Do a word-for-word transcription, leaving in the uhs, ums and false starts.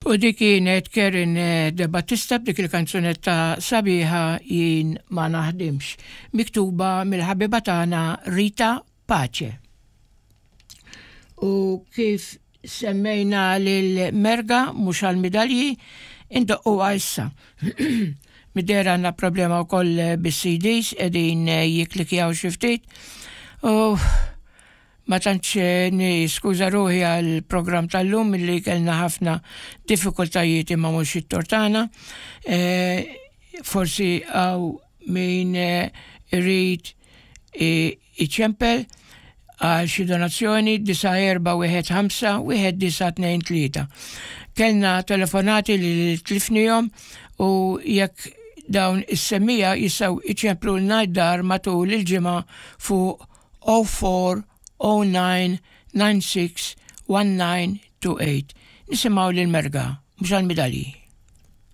U dik kienet Karen De Battista b'dik il-kanzunetta sabiħa "Jien ma naħdimx", miktuba mill-ħabiba tagħna Rita Pace. U kif semmejna lil Merga mhux għal-midalji, indoqqu issa. Mid-dehra għandna problema wkoll bis-C Ds, qegħdin jiklikjaw xi ftit. U ma tantx niskuża ruħi għal programm tal-lum li kellna ħafna diffikultajiet, imma mhux it-tort tagħna. E, forsi hawn min irid iċempel għal xi donazzjoni, disgħa erba' wieħed ħamsa wieħed disgħa tnejn tlieta. Kellna telefonati li tlifnihom u jekk dawn is-semmiegħa jistgħu iċemplu d-dar matul il-ġimgħa fuq zero four zero nine nine six one nine two eight. Nisimgħu lil Merga, mhux għal-midalji.